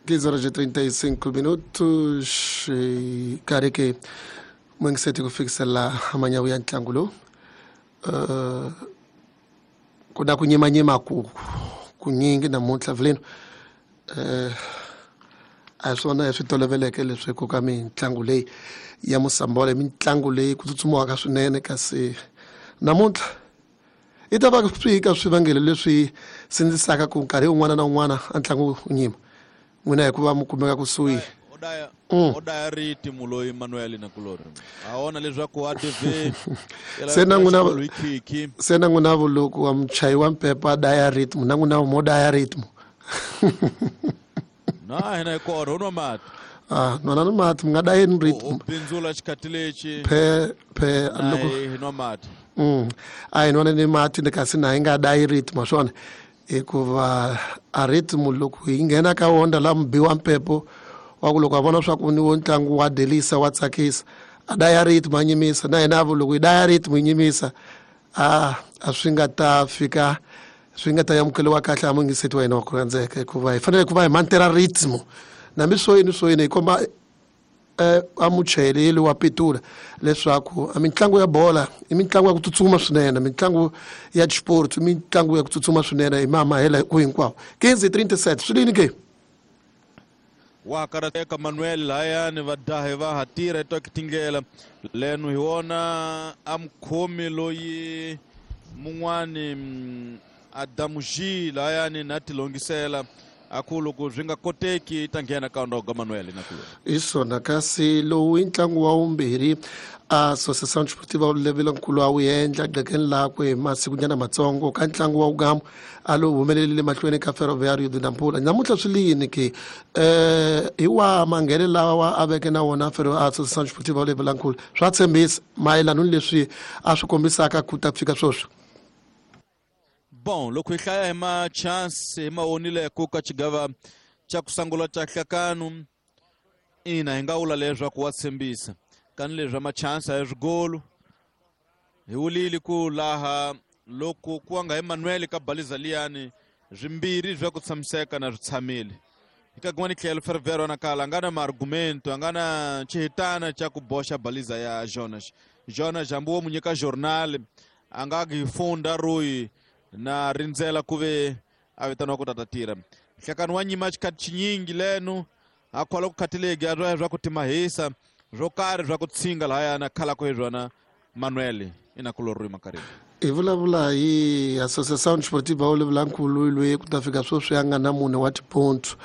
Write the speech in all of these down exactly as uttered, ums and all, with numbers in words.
quinze horas e trinta e cinco minutos karhi ke mungiseti ku fikisela manyawu ya ntlangu lowu uh, ku na ku nyimanyima ku kunyingi namuntlha vileno uh, a hi swona hi swi toloveleke leswi ku ka mitlangu leyi ya Mosambola mitlangu leyi ku tsutsumiwaka swinene kasi namuntlha i ta va swi ka swivangelo leswi sindzisaka ku nkarhi wun'wana na wun'wana a ntlangu wu nyima n'wina hikuva mi kumeka kusuhi o daya ritimu loyi Manuel na kulori a wona leswaku a D V se na n'wina se na n'wina vuloko wa muchayi wa mpepa a daya rhythm na n'wina mo daya rhythm na hina hi kona u nwa mati ah nwana ni mati mi nga dayeni rhythm u bindzula xikhathi lexi phe phe loko hi nwa mati mm a hi nwana ni mati ni kasi na hi nga dayi rhythm swona hikuva a rhythm loko hi nghena ka wona la mubi wa mpepo wa ku loko a vona swa ku ni wo ntlangu wa delisa wa tsakisa a daya rhythm a nyimisa na hina loko hi daya rhythm hi nyimisa a a swi nga ta fika swi nga ta amukeliwa kahle a mungiseti wa hina wa ku rhandzeka hikuva hi fanele ku va hi mantera rhythm nambi swo yini swo yini hi komba eh a muchayeri wa pitula leswaku a mitlangu ya bola i mitlangu ya ku tsutsuma swinene mitlangu ya sport i mitlangu ya ku tsutsuma swinene hi mamahela ku hinkwawo quinze trinta e sete swi lini ke wa karateka Manuel layani va dahe va ha tirha hi tindlela leno hi wona a mukhomi loyi mun'wani Adamu G layani na tilongisela a ku loko swi nga koteki ta nghena ka ndoga Manuel na ku hi swona kasi lowu i ntlangu wa vumbirhi a Associação Desportiva Levilankulu a wu endla gqekeni lakwe hi masikunyana matsongo ka ntlangu wa wugamu a lowu humelerile mahlweni ka Ferroviário de Nampula namuntlha swi lini ke eh hi wa manghene lawa a veke na wona Ferro Associação Desportiva Levilankulu swa tshembisa mayelana ni leswi a swi kombisaka ku ta fika sweswi. Bon loko hi hlaya hi ma-chance hi ma onileko ka xigava xa ku sungula xa hlakanu ina hi nga vula leswaku wa tshembisa kani leswi a ma-chance a hi swigolo hi wulile ku laha loko ku nga hi Manuel ka baliza liyani swimbirhi swa ku tshamiseka na swi tshamile hi ka kun'wana tlhelo Ferroviário na kala a nga na ma-argumento a nga na xihitana xa ku boxa baliza ya Jonas Jonas hambi wo mu nyika journal a nga hi funda ruyi na rindzela ku ve a vitaniwa ku tata tirha nhlekani wa nyima xikhathi xinyingi leno a khola ku khathilegi a swa swa ku timahisa swo karhi swa ku tshinga lahaya na khalako hi swona Manuel ina kulori makarhi hi vulavula hi Associação Desportiva Olivilankulu loyi ku ta fika sweswi a nga na mune wa tipontso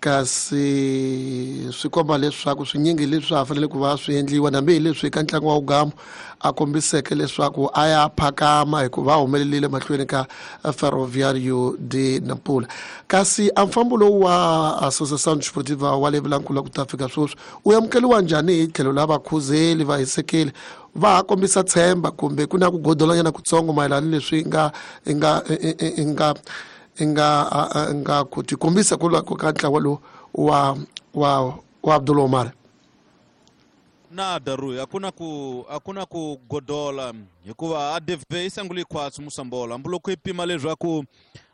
kasi swi komba leswaku swinyingi leswi a fanele ku va swi endliwa nambi hi leswi ka ntlangu wa wugamu a kombiseke leswaku a ya phakama hikuva a humelerile mahlweni ka Ferroviário de Nampula kasi a mfambo lowu wa Associação Desportiva wa Levilankulu ku ta fika sweswi u amukeliwa njhani hi tlhelo la vakhuzeli va hisekeli va ha kombisa tshemba kumbe ku na ku godolanyana kutsongo mayelana ni leswi nga nga nga nga nga ku tikombisa ku lwa ka ntlawa lowu wa wa wa Abdul Omar na daru akuna ku akuna ku godola hikuva a D V i sanguli khwatsi Mosambola hambi loko i pima leswaku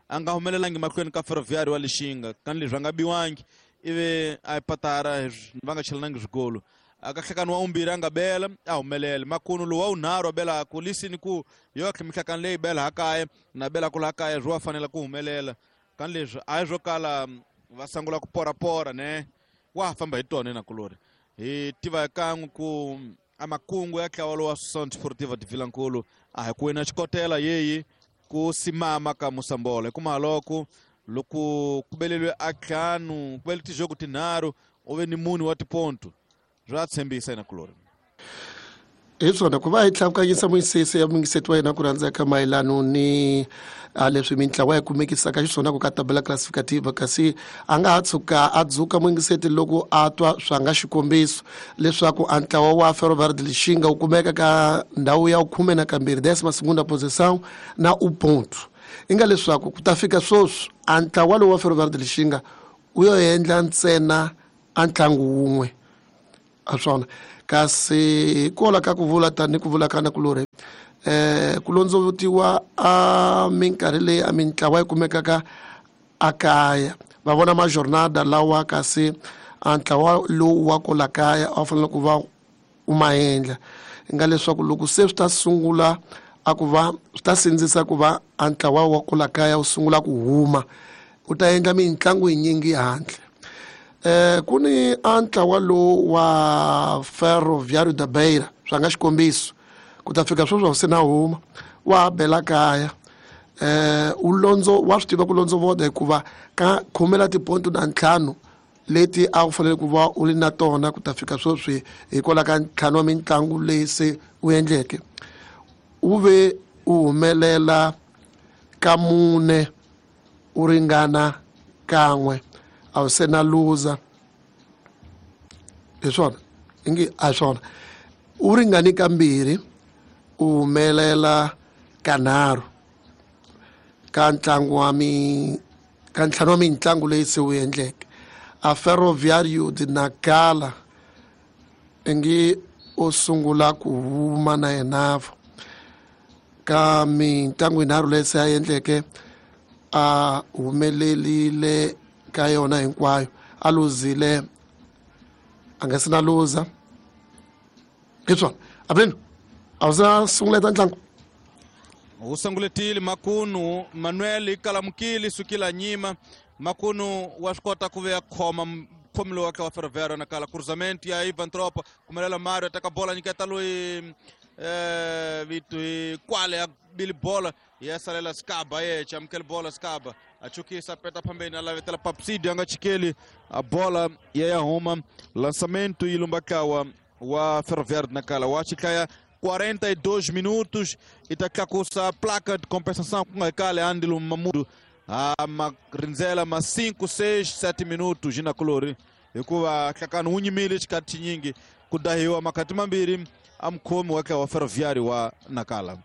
a nga humelelangi mahlweni ka Ferroviário wa Lixinga kani leswi a nga biwangi ivi a patara va nga chelanangi swigolo a ka hlekani wa vumbirhi a nga bela a humelela makunu lowu wa wunharhu a belaku lisini ku yo mihlakani leyi bela ha kaya na belaku laha kaya swi wa fanela ku humelela kani leswi a hi swo kala va sungula ku porapora ne wa ha famba hi tona nakulori hi tiva kan'we ku a makungu ya ntlawa lowa Associação Desportiva de Vilankulu a hi ku wina xikotela yeyi ku simama ka Mosambola hikuva loko loko ku beleliwe a ntlhanu ku bele tijogo tinharhu u ve ni mune wa tiponto swa tshembisa yena kulori hi swona ku va hi tlakukanyisa muyisisi ya mungiseti wa hina ku rhandzeka mayelano ni a leswi mintlawa yi kumekisaka xiswona ku ka tabela classificativa kasi a nga ha tshuka a dzuka mungiseti loko a twa swa nga xikombiso leswaku a ntlawa wa Ferroviário de Lixinga wu kumeka ka ndhawu ya khume na kambirhi décima segunda posição na u ponto i nga leswaku ku ta fika sweswi a ntlawa lowu wa Ferroviário de Lixinga wu yo endla ntsena a ntlangu wun'we a swona kasi hikola ka ku vula tani ku vula kana kulori eh ku londzovutiwa a minkarhi leyi a mintlawa yi kumekaka a kaya Va vona majornada lawa kasi a ntlawa lowu wa kwala kaya a wu fanele ku va u ma endla. Nga leswaku loko se swi ta sungula a ku va swi ta sindzisa ku va a ntlawa wa kwala kaya wu sungula ku huma, u ta endla mitlangu yinyingi handle. Eh ku ni a ntlawa lowu wa Ferroviário da Beira, swa nga xikombiso, ku ta fika sweswi se na huma wa bela kaya. Eh u londzo wa swi tiva ku londzovoda hikuva ka khumela tiponto na ntlhanu leti a wu fanele ku va u ri na tona ku ta fika sweswi hikwalaho ka ntlhanu wa mitlangu leyi se u endleke, u ve u humelela ka mune u ringana kan'we, a wu se na luza. Hi swona ingi a swona u ringani kambirhi u humelela kanharhu ka ntlangu wa mi ka ntlhanu wa mitlangu leyi se wu endleke. A Ferroviário de Nacala ingi u sungula ku huma na yena ka mitlangu yinharhu leyi se a endleke, a humelelile ka yona hinkwayo, a luzile a nga se na luza. Hi swona Abrino, a wu se na sunguleta ntlangu? Wu sunguletile Makunu Manuel ikalamukile sukila nyima. Makunu wa swi kota ku ve a khoma mukhomi lowu wa Ferroviário Nacala. Cruzamento ya Ivan Tropa kumelela Mario ataka bola nyiketa loyi eh vitu kwale ya bili bola ya salela Skaba ye amukele bola Skaba achukisa peta pambeni alavetela Papsidio anga chikeli a bola ya ya huma. Lançamento ilumbakawa wa Ferroviário Nacala wa chikaya quarenta e dois minutos e tá com a placa de compensação com a Kale Andilo Mamudo a ma rindzela ma cinco, seis, sete minutos na colori hikuva hlakani wu nyimile xikati xinyingi ku dahiwa makati mambirhi a mukhomi wa wa Ferroviário wa Nacala.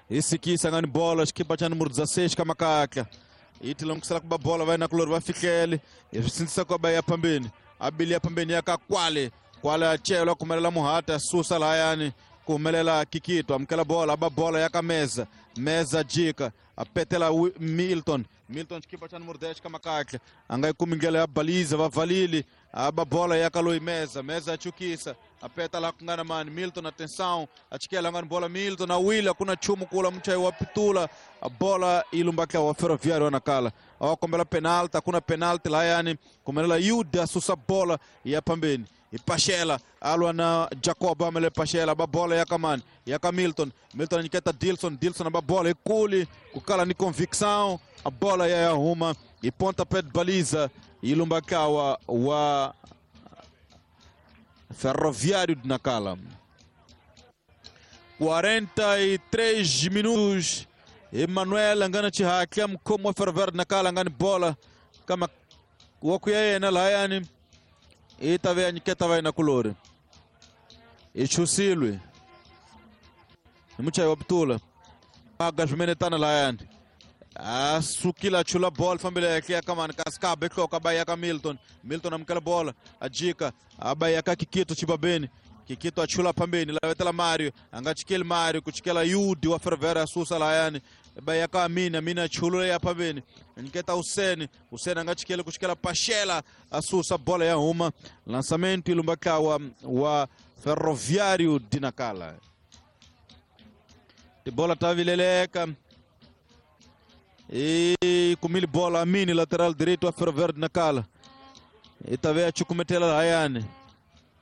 Hi sikisa ngani bola xikipa xa numero dezesseis ka makatla yi tilangutisela ku ba bola va na kulori va fihlele hi swi sindzisa ku ba ya phambeni a bili ya phambeni ya ka kwale kwale a celwa kumelela Muhata susa lahayani ku humelela Kikito amukela bola ba bola ya ka Meza Meza jika a petela Milton Milton xikipa xa numero dez ka makatla a nga yi kumi ndlela ya baliza va valile a ba bola ya ka loyi Meza Meza a chukisa a peta laha ku nga na mani Milton atenção a chikela ngani bola Milton a wila ku na nchumu kula muchayi wa pitula a bola yi lumbaka wa Ferroviário wa Nacala a wa kombela penalty a ku na penalty lahayani kumelela Yuda a susa bola ya phambeni Ipashela alwa na Jacob amele Pashela ba bola ya kamani ya ka Milton Milton nyiketa Dilson Dilson ba bola ikuli kukala ni convicção a bola ya huma e pontapé de baliza ilumbakawa wa Ferroviário de Nacala. quarenta e três minutos. Emanuel angana chihakya mkomo wa Ferroviário de Nacala angani bola kama wakuya yena lahayani itave anyiketa vai na kulori ichusilwe muchayi wa pitula aga swimenetana lahayani asukila chula bola fambile yake kamani kaskabe hloka baya ka Milton Milton amukela bola ajika abaya ka Kikito chibabeni Kikito achula pambeni lavetela Mario anga chikeli Mario kuchikela Yudi wa Ferroviário asusa lahayani baya ka Amina Amina chulula ya pambeni nketa Hussein Hussein anga chikeli kuchikela Pashela asusa bola ya huma. Lançamento ilumbakawa wa Ferroviário de Nacala. De bola tavileleka e kumili bola Amini lateral direito wa Ferroviário de Nacala itave achukumetela hayani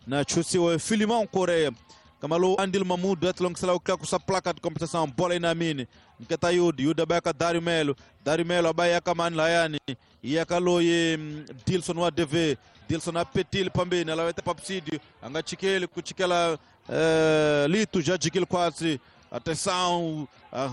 na chusiwa Filimão Coreia Kamalu Andil Mamudo atlongisela uklakusa placa de compensação bola ina Amini nketa Yudi Yudi abayaka Dario Melo Dario Melo abayaka mani layani iyakaloye Dilson wa D V Dilson apetile pambeni alaweta Papsidio anga chikeli kuchikela uh, Litu já jikile kwatsi atenção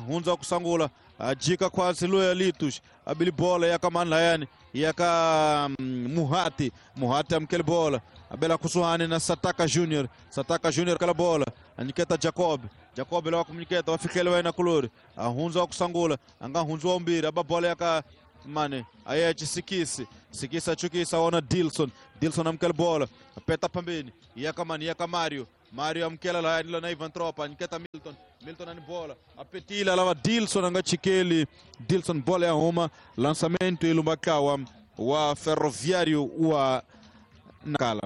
hunza kusangula ajika kwatsi loya Litus abili bola yakamani layani yaka Muhati Muhati amkele bola abela kusuhani na Sataka Junior Sataka Junior kala bola aniketa Jacob Jacob lewa kumniketa wafikele waina kulori ahunza kusangula anga hunza umbiri aba bola yaka mane ayechi Sikisi Sikisi achukisa ona Dilson Dilson amkele bola peta pambeni yaka mani yaka Mario Mario amukela lahaya ni lona Ivan Tropa nyiketa Milton Milton ani bola apetila lava Dilson anga chikeli Dilson bola ya huma lançamento ilumbakawa wa Ferroviário wa Nacala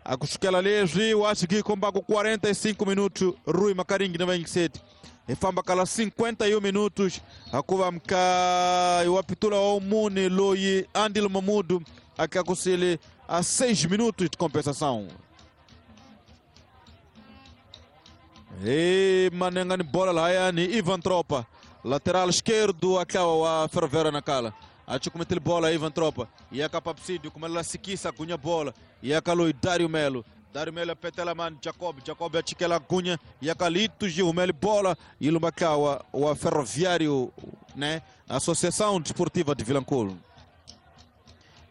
akusukela leswi wa xikikomba ku quarenta e cinco minutos Rui Makaringi na vinte e sete ifamba kala cinquenta e um minutos akuva mka wapitula wa umune loyi Andilo Mamudu akakusile a seis minutos de compensação. E manengani bola lá ni Ivan Tropa lateral esquerdo acaba wa Ferroviário Nacala achukumetele bola Ivan Tropa e a Capapsídio como ela se quis a bola e a Caloi Dário Melo Dário Melo apetela man Jacob Jacob achikela cunha e a Calito Gil Melo bola e Lumbacawa o Ferroviário, né, Associação Desportiva de Vilanculo.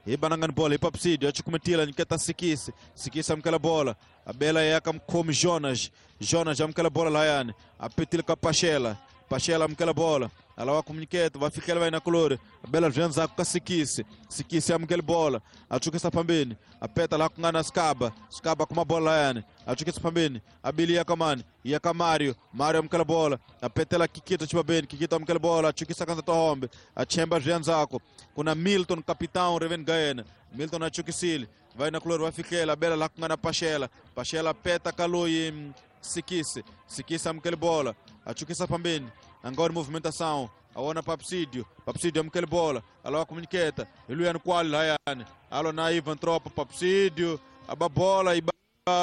E banangan bola e Papsídio achukumetela niketa Sikisi Sikisi amkela bola a bela e a como Jonas Jonas amkela bola laiane apetil Capachela Pachela amkela bola ela vai comunicar, vai ficar vai na color. A bela janza com Sikisi Sikisi amkela bola achuka sapambeni apeta lá com a Skaba Skaba com uma bola laiane achuka sapambeni abilia kamani ia ka Mario Mario amkela bola apetela Kikito chibabeni Kikito amkela bola achuka sakanta tohombe achemba janzako kuna Milton capitão Reven Gaena Milton achukisili vai na color vai ficar a bela lá com a Pachela Pachela peta kaloi Sikisi Sikisi amkela bola achuka sapambeni agora movimentação aona Papsídio Papsídio amkela bola ela comuniqueta Iluiano qual Rayane alo na Ivan Tropa Papsídio a bola e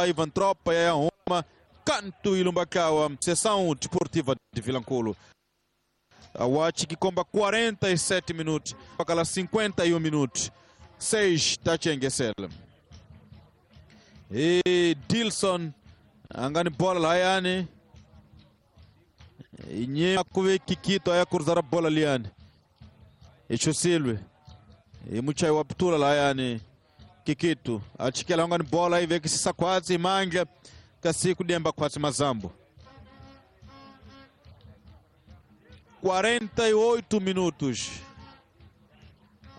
Ivan Tropa e a Roma canto Ilumbakawa Sessão Desportiva de Vilanculo a Watch que comba quarenta e sete minutos para cinquenta e um minutos seis da Chengesela e Dilson angani bola Rayane inye kuve Kikito aya cruzar a bola liane e e muchai waptula laiane Kikito achikela ngani bola ive kisisa kwatsi manja kasi kudemba kwatsi mazambo quarenta e oito minutos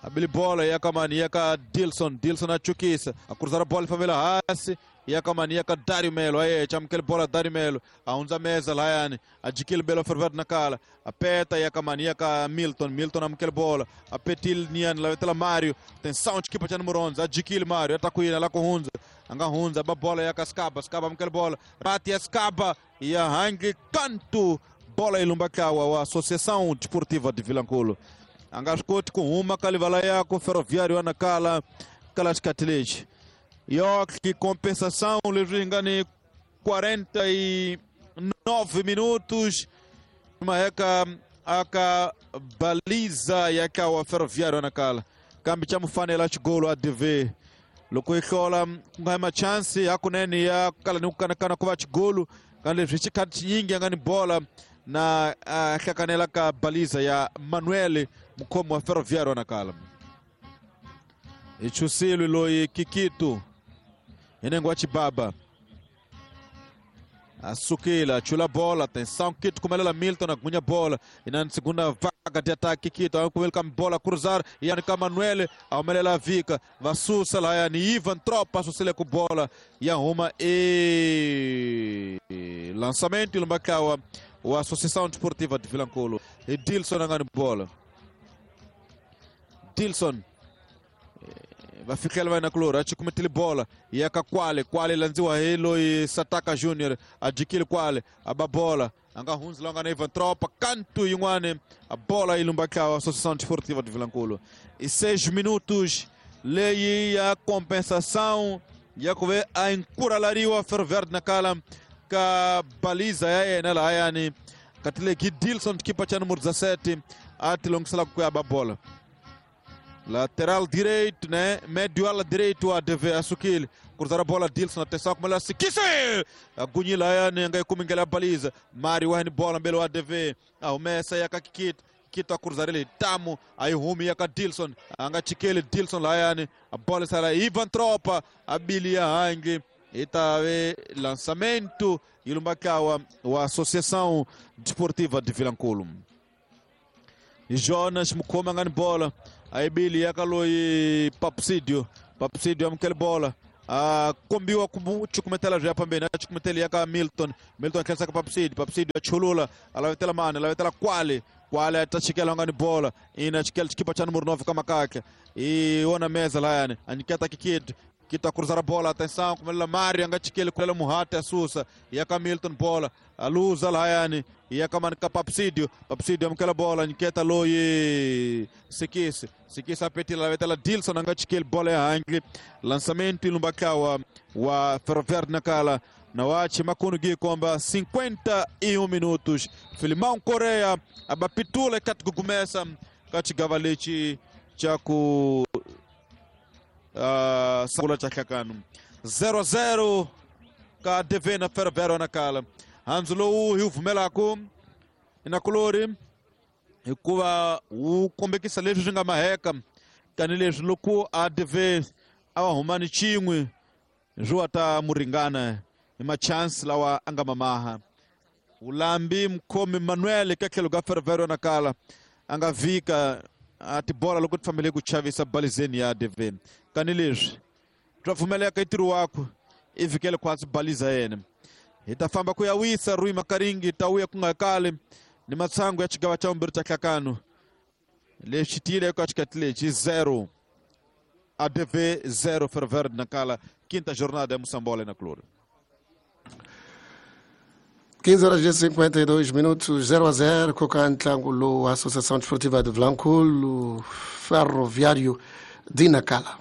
abili bola yakamani yaka Dilson Dilson achukisa a cruzar a bola favela hasi yakamani yaka Dário Melo aye chamkel bola Dário Melo aunza mesa laiane adikil belo ferver nakala apeta yakamani yaka Milton Milton amkel bola apetil nian lavetela Mario tensão de equipa número onze adikil Mario atakuina lá com hunza anga hunza ba bola yaka Skaba Skaba amkel bola bate Skaba e arranque canto bola ilumbakawa wa Associação Desportiva de Vilanculo angascoti com uma kalivala yako Ferroviário Nacala Kalascatilej York compensação levingani quarenta e nove minutos uma eka aka baliza yaka wa Ferroviário Nacala kambi cha mufanela chigolo A D V loko ihlola ngama chance akunene ya kala ni kana kuva chigolo kandi zvichikati nyingi angani bola na hlakanela ka baliza ya Manuel mukhomi wa Ferroviário Nacala ichusilwe loyi Kikito inengo wa Chibaba asukila chula bola atenção Kito kumelela Milton agunya bola inani segunda vaga de ataque Kito akuwelka bola cruzar e ka Manuel aumelela vika vasusa lá yani Ivan Tropa susile ku bola ya uma e lançamento ilumbakawa o Associação Desportiva de Vilanculo e Dilson angani bola Dilson vai ficar vai na clora achukumetile bola e aka kwale kwale lanziwa helo e Sataka Junior adikile kwale ababola anga hunzi longa na Ivan Tropa canto yingwane a bola ilumbakawa Associação Desportiva de Vilanculo e seis minutos lei a compensação e a kuve a encuralariwa Ferroviário Nacala ka baliza yaye nela ayani katile ki Dilson kipa cha número dezassete atilongisela kuyaba bola lateral direito, né? Médio ala direito a D V asukile cruzar a bola Dilson atenção como ela se quise agunhila ayani ngai kumingela baliza Mário wahni bola mbele wa A D V au mesa ya kakikit Kito a cruzar ele tamo aí rumi ya ka Dilson anga chikele Dilson lá ayani a bola sala Ivan Tropa abilia hangi Itave lançamento ilumbakawa wa Associação Desportiva de Vilanculo Jonas mukoma ngani bola aí Billy yakaloi Papsídio Papsídio amkele bola A kombiwa ku chukumetela bya pambeni a chukumeteli ya ka Milton. Milton khensa ka Papsidi. Papsidi a chulula a lavetela mani, a lavetela kwale. Kwale a ta chikela nga ni bola. Ina chikela chikipa cha número nove ka makake. E ona meza layani. A nyiketa kikid. Kita cruzar a bola, atenção, como Mário, anga chikele kulela Muhate asusa, ia ka Milton bola, a luza layani, ia ka man ka Papsidio, Papsidio amkela bola, nyiketa loyi Sikisi, Sikisi apetila lavetela Dilson anga chikele bola ya hangli, lançamento ilumbakawa wa Ferroviário Nacala, na wache makunu gikomba cinquenta e um minutos, Filimão Correia, abapitula katugumesa, kachigavalichi chaku Uh, sangula cha hlakanu zero a zero ka D V na Ferroviário Nacala. Handzu lowu hi wu pfumelaku inakulori hikuva wu kombekisa leswi swi nga maheka tanihileswi loko a D V a va humani xin'we swi wa ta muringana hi machance lawa a nga mamaha. Ulambi mkhomi Manuel ka tlhelo ka Ferroviário Nacala a nga vhika a tibola loko ti fambele ku chavisa balizeni ya D V. Kanileswi swa pfumeleka i ntirho wakwe i vhikele khwatsi baliza yena. Hi ta famba ku ya wisa Rui Makaringi ta wuya ku nga kali ni matsangu ya xigava xa vumbirhi xa hlakano. Lexi tiyile eka xikati lexi zero A D V zero Ferroviário Nacala, quinta jornada ya Moçambola na Cloro. quinze horas e cinquenta e dois minutos, zero a zero, com o ntlangu Associação Desportiva de Vilankulo, Ferroviário de Nacala.